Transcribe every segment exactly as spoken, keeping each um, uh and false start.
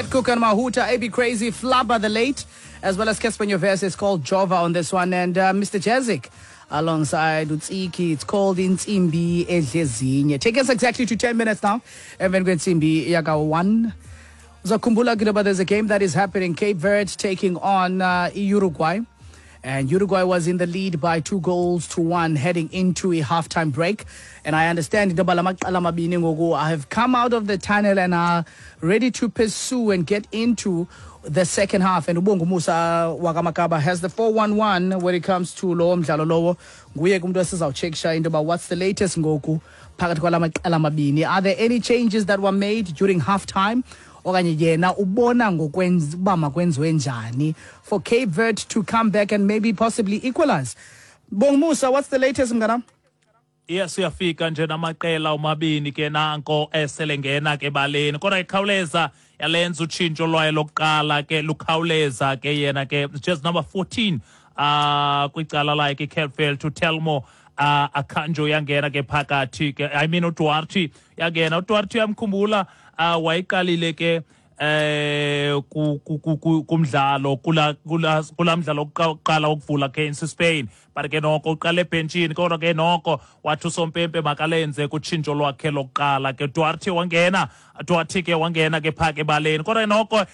Petcook and Mahuta, A B Crazy, Flabba the Late, as well as Cassper Nyovest. It's called Jova on this one. And uh, Mister Jazik alongside Utsiki. It's called Intsimbi Edlezinye. Take us exactly to ten minutes now. Emveni kwentsimbi yaka one. Uzakhumbula ke there's a game that is happening. Cape Verde taking on uh, Uruguay. And Uruguay was in the lead by two goals to one heading into a halftime break. And I understand into yoba la maqela mabini ngoku I have come out of the tunnel and are ready to pursue and get into the second half. And Ubongo Musa wakaMakaba has the four one one when it comes to lowo mdlalo lowo. Nguye ke umntu esizawutshekisha into yoba what's the latest ngoku phakathi kwala maqela mabini. Are there any changes that were made during halftime? Okanye yena ubona ngokwenza uba makwenziwe njani for Cape Verde to come back and maybe possibly equalize? Bong Musa, what's the latest, mnganam? Yes, uyafika nje namaqela omabini ke nanko eselengena ke baleni, kodwa ikhawuleza yalenza utshintsho lwayo lokuqala ke lukhawuleza ke yena ke just number fourteen uh kwicala lakhe iCape Verde, uTelmo uh Arcanjo yangena ke phakathi ke, I mean uDuarte yangena. uDuarte uyamkhumbula, uh wayiqalile ke eh kumdlalo kula kula kula mdlalo oqala ukuvula against Spain, but ke noko uqala ebhentshini, kodwa ke noko wathi usompempe makalenze kutshintsho lwakhe lokuqala ke. Duarte wangena, Duarte ke wangena ke phaka ebaleni, kodwa noko uh,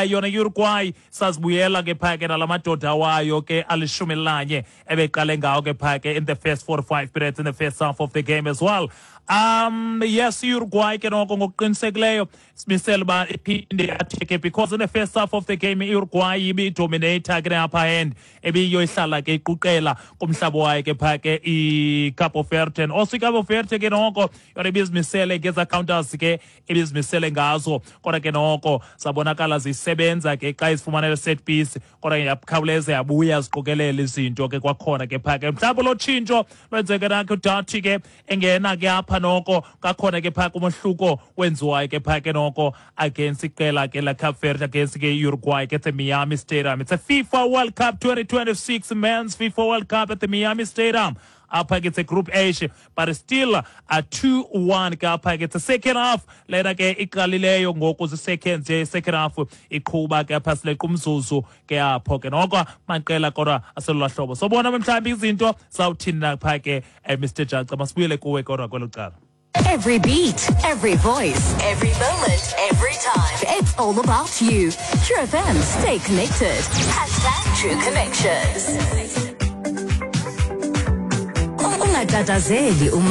yona Uruguay sazibuyela ke phaka nalamadoda wayo ke alishumi elinanye ebeqale ngawo ke phaka in the first forty-five minutes in the first half of the game as well. um yes Uruguay ke noko ngokuqinisekileyo simisele uba iphinde atheke, because in the first half of the game i-Uruguay ibidominate ke upper hand, ebiyo ihlala ke iquqela kumhlaba wayo ke phaa ke iCabo Verde. And also iCabo Verde ke noko yona ibizimisele ngeza counters ke ibizimisele ngazo, kodwa ke noko sabonakala zisebenza ke xa izifumanele set piece, kodwa ke yakhawuleza yabuya ziqokelela izinto ke kwakhona ke phaa ke. Mhlawumbi lo tshintsho lwenzeke nakho, uDuarte ke engena ke apha, noko kakhona ke phaa kumohluko wenziwayo ke phaa ke noko against iqela ke la Cape Verde, against ke Uruguay ke at the Miami Stadium. It's a FIFA World Cup twenty twenty-six, men's FIFA World Cup at the Miami Stadium. Apha ke it's a Group H, but still a two one ke apha ke. It's a second half lena ke iqalileyo ngoku, zi-seconds nje second half iqhuba ke apha, sileqa umzuzu ke apho ke noko maqela kodwa aselula hlobo. Sobona mhlawumbi izinto zawuthini na phaa ke. eh, Mister Jaca, masibuyele kuwe kodwa kwelo cala. Every beat, every voice, every moment, every time. It's all about you. True F M, stay connected. Hashtag True Connections. Ungatatazeli uma